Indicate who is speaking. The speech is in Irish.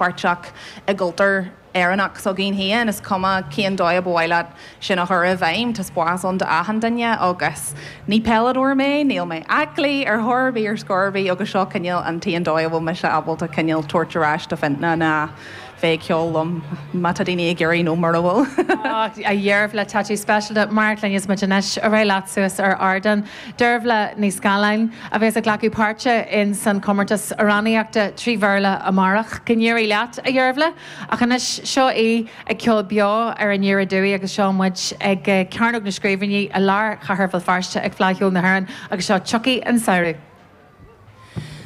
Speaker 1: páirteach i gcultúr Éireannach s'againn féin, is cuma cén dóigh a ba mhaith leat sin a chur i bhfeidhm, tá spás ann d'achan duine agus ní peileadóir mé, níl mé aclaí ar chor ar bith ar scor ar bith agus seo cineál an t-aon dóigh a bhfuil mise ábalta cineál tabhairt ar ais do Fintona ná bheith ag ceol liom má tá daoine ag iarraidh nó mura bhfuil.
Speaker 2: A Dheirbhle, tá tú speisialta mar a chluineas muid anois. Ar aghaidh leat suas ar ardán. Deirbhle Ní Scanláin, a bheas ag glacadh páirte in san comórtas amhránaíochta 3 Bhéarla amárach. Go n-éirí leat, a Dheirbhle. Ach anois, seo í ag ceol beo ar Aniar Aduaidh agus seo muid ag Cearnóg na Scríbhinní i lár chathair Bhéal Feirste ag Fleadh Cheoil na hÉireann agus seo Tiocfaidh an Samhradh.